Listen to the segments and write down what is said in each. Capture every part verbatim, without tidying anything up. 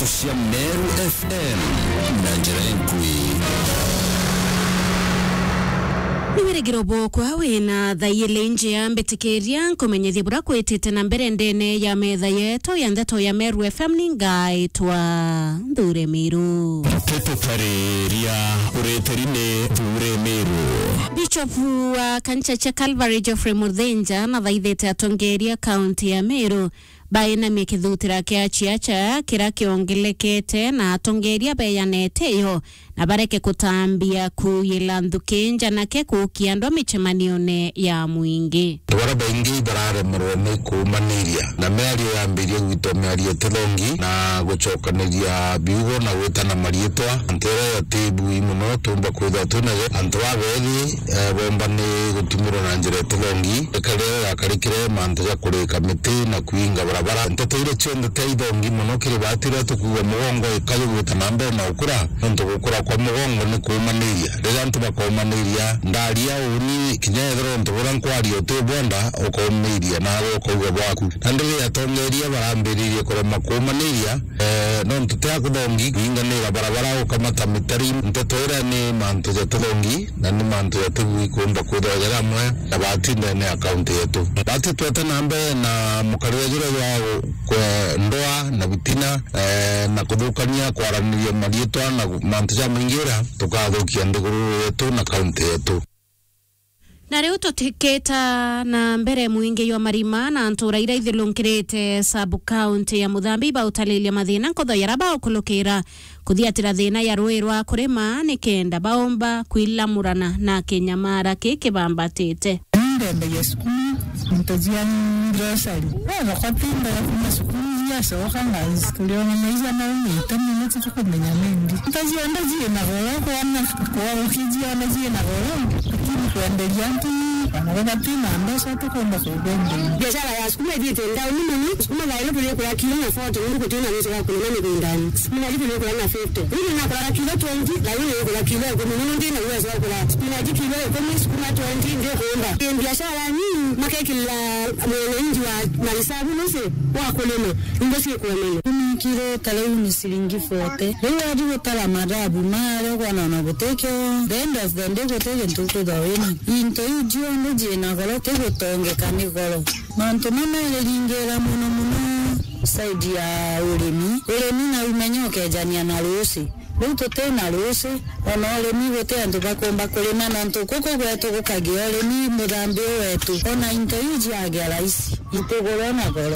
Cia Meru F M na njira inkui. Ni wirigiro bwokwa wina thaa ijiri njia, mbitikiria nkumenyithie bura kwitite na mbere ndene ya metha yetu ya ndeto ya Meru F M. Ni ngaitwa Nthure Miru. Tututariria uritiri ni Nthure Miru. Bishop wa kanisa cia Calvary Geoffrey Muthinja nathaithite atongeria kaunti ya Meru bainamie kithutira kia ciaca kiria kiongelekete na atongeria beyanete yo na bareke kutambia kuuyila nthuki njanake kuukia andu a micemanione ya mwingi. Antu baria baingi bararemerwa ni kuumaniria, na miario yambirie gwitwa miario itithongi na gucokaniria biugo na gwitana mariitwa. Antu iria yatibu i mono tumba kwithirwa twinayo. Antu babeethi eh, bomba ni gutumurwa na njira itithongi. Ikaria yakarikire mantu ja kurika miti na kuinga barabara. Nteto iria cionthe tia ithongi mono kiri baati iria tukuuga mugongo ikayugwita na mbere na ukura, nontu gukura kwa mugongo ni kuumaniria. Riria antu bakoomaniria, ndaria uuni kinya ethirwa untu buria nkwaria utibwenda, ukoomaniria nawe ukauga bwaku. Na ndiri atongeria barambiririe kurema kuumaniria, Eh, nontu ti akuthongi kuinganira barabara ukamata mitari, nteto iria ni mantu ja tuthongi na ni mantu ja tugui kuumba kwithirwa jari amwe na baati ndene ya kaunti yetu. Baati twete na mbere na mukarire juria jwa gu-, kwe-, ndoa na bitina, eh, na kuthukania kwaraniria mariitwa na gu-, mantu jamaingi uria tukathukia nthiguru yetu na kaunti yetu. Na riu tutikita na mbere mwingi jwa marima na ntura iria ithilungirite sub county ya Muthambi ibautariria mathina nkotho yaria baukulukira kuthiatira thina ya rui rwa kurima nikenda baumba kwilamurana na kinyamara ki kibambatite. Ndembagia cukuru, into cia grocery. Wethokwa ti mbere kuma cukuru ciacoka ngaci. Turiona maisha maumite mono, titukumenya nindi. Into cionthe ciina goro, kwana kwa ukijiona ciina goro, lakini kwenderia antu, bana baba twina mbeca tukumba kwenderia. Biashara ya sukuma ithiite ndauni mono. Sukuma thaa ino turikura kilo na forty, nundu gutina mbeca ya kurima migundani. Sukuma iji turikura na fifty. Riu nakuraga kilo twenty, thaa ino nikura kilo ikumi, nundu ndina uwezo wa kugura sukuma iji kilo ikumi, sukuma twenty, ndikumba. Ni biashara nini, makekirira mwananchi wa marisabu nusu wa kurima, indo cikwonana. Kumi kilo ta riu ni ciringi forty. Riu wathi gutara mathabu maria ukona ona gutikio, the end of the day guti gintu ukwithwa wina. Into iu cionthe ciina goro, ti gutongeka ni goro. Mantu mameriringira mono mono side ya urimi. Urimi na umenya ukejania na ruuci. Riu tuti na ruuci, ona urimi guti antu bakumba kurima, nontu guku gwetu gukagia urimi muthambi u wetu. Ona into iu ciagia raisi, itigurwa na goro.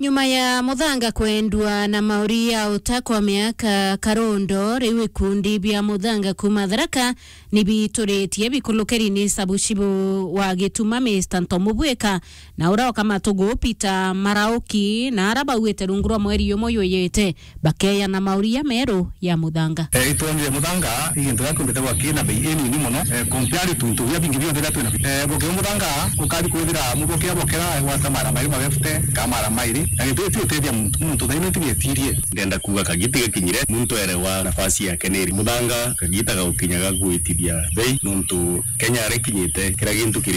Nyuma ya muthanga kwendua na mauri ya uta kwa miaka karundo, riu ikundi bia muthanga kuuma Tharaka ni bituritie bikulukiri ni sabucibu wa Gituma Mister Ntomu Bwika, na uria ukamatugu Peter Marauki, na ara bauite rungu rwa mweri umwe juyite bakeya na mauria meru ya muthanga. Eh, itwonire muthanga i gintu gia kwendete gwaki na bei inini mono, eh, compare to into biria bingi bionthe biria twina. Eh, boke muthanga ukari kwithira muboke bokera gwata mara mairi ma left, ka mara mairi, na gintu giti utethia muntu, muntu thaino ntigetirie. Ndenda kuuga kagiti gakinyire, muntu erewa nafasi yake niri. Muthanga kagita gagukinya ga gwitithia bei, nontu Kenya aria ikinyite, kira gintu kiri